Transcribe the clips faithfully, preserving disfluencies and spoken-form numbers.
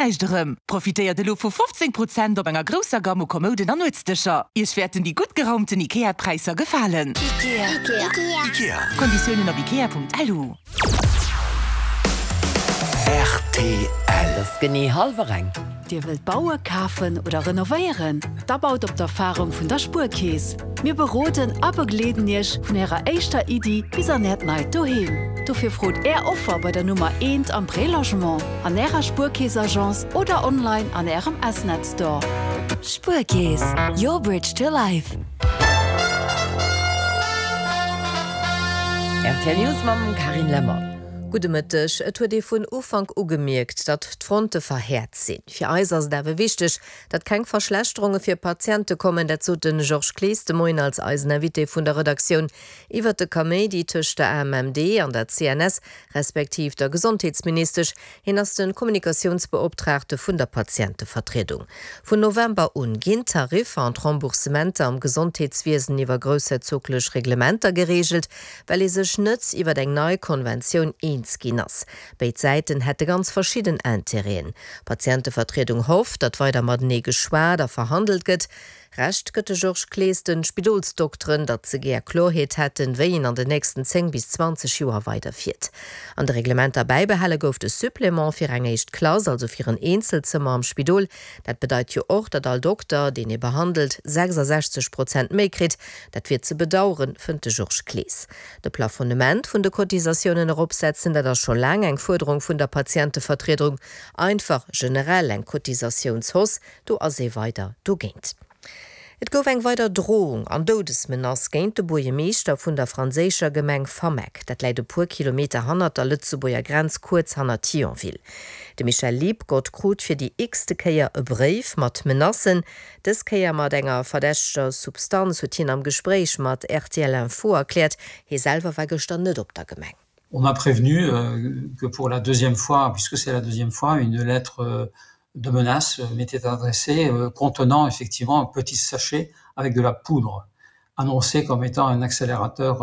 Näischt erëm. Profitéiert elo vu fofzéng Prozent op enger grousser Gamme u Kommouden an Nuetsdëscher. Iech wäerten déi gutt geraumten IKEA-Präisser gefalen. Ikea. Ikea. Konditiounen op ikea Punkt L U. R T L. Et ass genee hallwer eng. Dir wëllt bauen, kafen oder renovéieren? Da baut op d'Erfarung vun der Spuerkeess. Mir beroden a begleeden Iech vun Ärer éischter Iddi bis an Äert neit Doheem. Dofir frot Är Offer bei der Nummer eent am Prélogement, an Ärer Spuerkeess-Agence oder online an Ärem S-Net Store. Spuerkeess, your bridge to life. R T L News mam Carine Lemmer. Gudde Mëtteg. Et huet ee vun Ufank u gemierkt, datt d'Fronte verhäert sinn. Fir eis ass et awer wichteg, datt keng Verschlechterunge fir Patiente kommen, dat sot de Georges Clees de Moien als eisen Invité vun der Redaktioun iwwert de Kaméidi tëscht der A M M D an der C N S, respektiv der Gesondheetsministesch. Hien ass de Kommunikatiounsbeoptraagte vun der Patientevertriedung. Vun November un ginn d'Tariffer an d'Remboursementer am Gesondheetswiesen iwwer groussherzoglech Reglementer gereegelt, well ee sech net iwwer eng nei Konventioun eens ginn ass. Béid Säiten hätte ganz verschidden Interêten. D'Patientevertriedung hofft, datt weider matenee geschwat a verhandelt gëtt. Recht gëtt de Georges Clees de Spidolsdokteren, datt se gär Kloerheet hätten, wéi een an den nächsten zéng bis zwanzeg Joer weiderfiert. An de Reglementer bäibehale gouf de Supplément fir eng éischt Klass, also fir en Eenzelzëmmer am Spidol. Dat bedeit jo och, datt all Dokter, deen ee behandelt, sechsasechzeg Prozent méi kritt. Dat wier ze bedaueren, fënnt de Georges Clees. De Plafonnement vun de Cotisatiounen eropsetzen, dat ass scho laang eng Fuerderung vun der Patientevertriedung. Einfach generell eng Cotisatiounshausse, do ass ee weider dogéint. Et gouf eng weider Drohung an Doudesmenace géint de Buergermeeschter vun der franséischer Gemeng Fameck. Dat läit e puer Kilometer hannert der Lëtzebuerger Grenz, kuerz hannert Thionville. De Michel Liebgott krut fir déi x-te Kéier e Bréif mat Menacen. Dës Kéier mat enger verdächteger Substanz, huet hien am Gespréich mat R T L Info erkläert. Hie selwer war gëschter net op der Gemeng. On m'a prévenu que pour la deuxième fois, puisque c'est la deuxième fois, une lettre de menace m'était adressée contenant effectivement un petit sachet avec de la poudre annoncé comme étant un accélérateur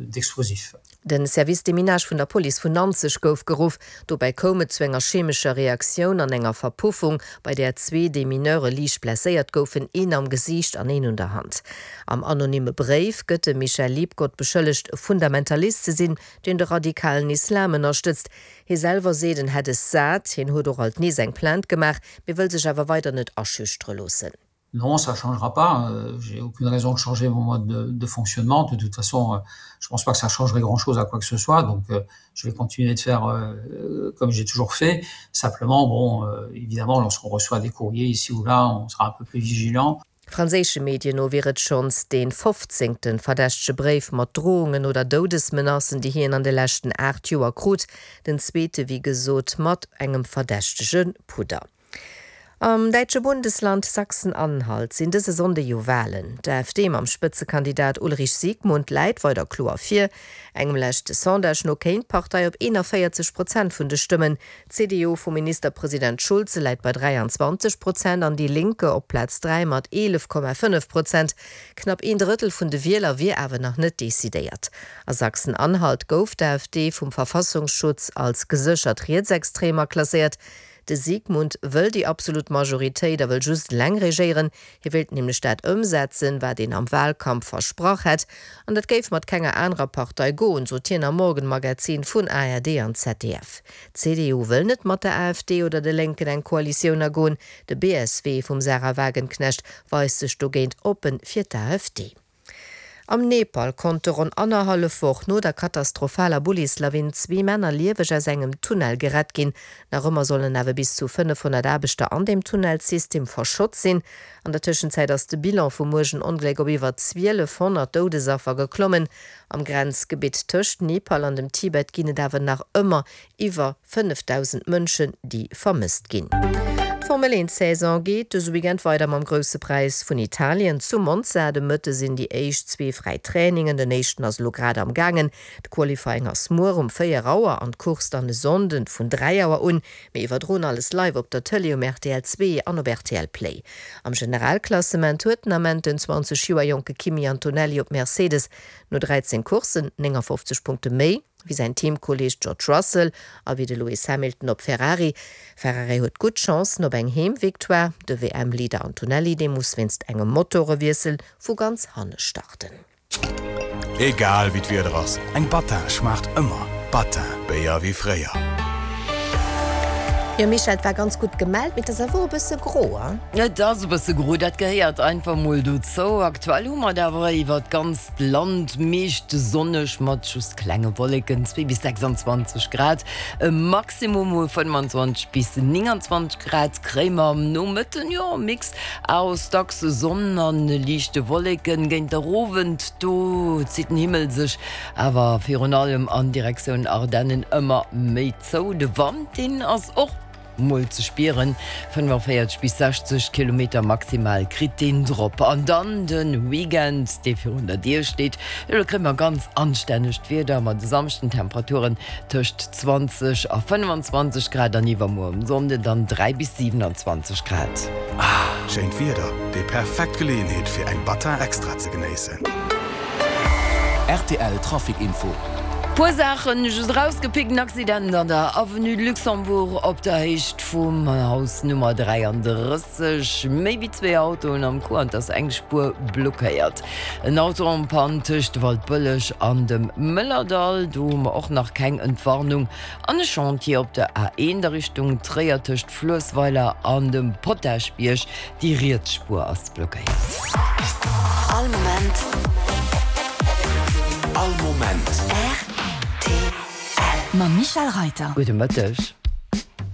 d'explosifs. Den Service Déminage vun der Police vun Nanzeg gouf geruff. Dobäi koum et zu enger chemescher Reaktioun an enger Verpuffung, bei där zwee Demineure liicht blesséiert goufen, een am Gesiicht an een un der Hand. Am anonyme Bréif gëtt de Michel Liebgott beschëllegt, Fundamentalist ze sinn, deen de radikalen Islam ënnerstëtzt. Hie selwer seet, en hätt es sat, hien huet och alt nees eng Plainte gemaach, mee wëll sech awer weider net aschüchtere loossen. Non, ça changera pas. J'ai aucune raison de changer mon mode de, de fonctionnement. De toute façon, je pense pas que ça changerait grand-chose à quoi que ce soit. Donc, je vais continuer de faire comme j'ai toujours fait. Simplement, bon, évidemment, lorsqu'on reçoit des courriers ici ou là, on sera un peu plus vigilant. Franséische Medien no wier et schonns dee fofzéngte verdächtege Bréif mat Drohungen oder Doudesmenacen, déi hien an de leschten aacht Joer krut. Den zweete, wéi gesot, mat engem verdächtege Pudder. Am däitsche Bundesland Sachsen-Anhalt sinn dëse Sonnde jo Walen. D'A F D mam Spëtzekandidat Ulrich Siegmund läit weider kloer vir. Engem leschte Sondage no kéim d'Partei op eenanvéierzeg Prozent vun de Stëmmen. D'C D U vum Ministerpresident Schulze läit bei dräianzwanzeg Prozent an Die Linke op Plaz dräi mat eelef Komma fënnef Prozent. Knapp een Drëttel vun de Wieler wier awer nach net decidéiert. A Sachsen-Anhalt gouf d'A F D vum Verfassungsschutz als geséchert rietsextrem klasséiert. De Siegmund wëll déi absolut Majoritéit a wëll just eleng regéieren. Hie wéilt nämlech dat ëmsetzen, wat en am Walkampf versprach hätt. An dat géif mat kenger anerer Partei goen, sot hien am Morgenmagazin vun A R D an Z D F. D'C D U wëll net mat der A F D oder de Lénken eng Koalitioun agoen. De B S W vum Sahra Wagenknecht weist sech dogéint oppen fir d'A F D. Am Nepal konnte ronn annerhallef Woch no der katastrophaler Bullislawin zwee Männer lieweg aus engem Tunnel gerett ginn. Nach ëmmer sollen awer bis zu fënnefhonnert Aarbechter an deem Tunnelsystem verschott sinn. An der Tëschenzäit ass de Bilan vum uergen Ongléck op iwwer zwielefhonnert Doudesaffer geklommen. Am Grenzgebitt tëscht Nepal an dem Tibet ginn et awer nach ëmmer iwwer fënnefdausend Mënschen, déi vermësst ginn. D'Formel eent Saison geet dëse Weekend weider mam Grousse Präis vun Italien zu Monza. De Mëtte sinn déi éischt zwee fräi Trainingen, den éischten ass elo grad am gaangen. De Qualifying ass muer um véier Auer an d'Course dann e Sonnden vun dräi Auer un. Mir iwwerdroen alles live op der Tëlee um R T L zwee an op R T L Play. Am Generalklassement huet den Ament den zwanzeg Joer jonke Kimi Antonelli op Mercedes no dräizéng Courssen néngafofzeg Punkte méi wéi säin Teamkolleeg George Russell a wéi de Lewis Hamilton op Ferrari. Ferrari huet gutt Chancen op eng Heemvictoire, de WM-Leader Antonelli, dee muss wéinst engem Motorewiessel vu ganz hanne starten. Egal wéi d'Wieder ass, eng Battin schmaacht ëmmer. Battin, Béier wéi fréier. Jo Michèle, et war ganz gutt gemellt, mee et ass awer och e bësse gro, hein? Et ass e bësse gro, dat gehéiert einfach mol dozou. Aktuell hu mer et awer iwwert d'ganzt Land meescht sonneg mat just klenge Wolleken, zwee bis sechsundzwanzeg Grad, e Maximum vu fënnwandzwanzeg bis nénganzwanzeg Grad kréie mer am Nomëtten. Jo, e Mix aus dacks Sonn a liichte Wolleken. Géint der Owend, do zitt den Himmel sech awer virun allem an Direktioun Ardennen ëmmer méi zou. De Wand, deen ass och mol ze spieren, fënnenvéierzeg bis sechzeg Kilometer maximal kritt deen drop. An dann de Weekend, dee virun der Dier steet, jo do kréie mer ganz anstännegt Wieder mat e Samschden Temperaturen tëscht zwanzeg a fënnwandzwanzeg Grad an iwwermuer um Sonnden dann dräi bis siwenanzwanzeg Grad. Ah, schéint Wieder, déi perfekt Geleeënheet fir eng Battin Extra ze genéissen. Rtl Trafic Info. Puer Saachen just erausgepickt, En Accident an der Avenue de Luxembourg op der Héicht vum Haus Nummer dräiandrësseg. Méi wéi zwee Autoen am Coup an et ass eng Spuer blockéiert. En Auto en panne tëscht Waldbëlleg an dem Mëllerdall, do hu mer och nach keng Entwarnung. An e Chantier op der A eent a Richtung Tréier tëscht Fluessweiler an dem Potaschbierg, déi riets Spuer ass blockéiert. All Moment. All Moment. Rtl. Mam Michèle Reiter. Gudde Mëtteg.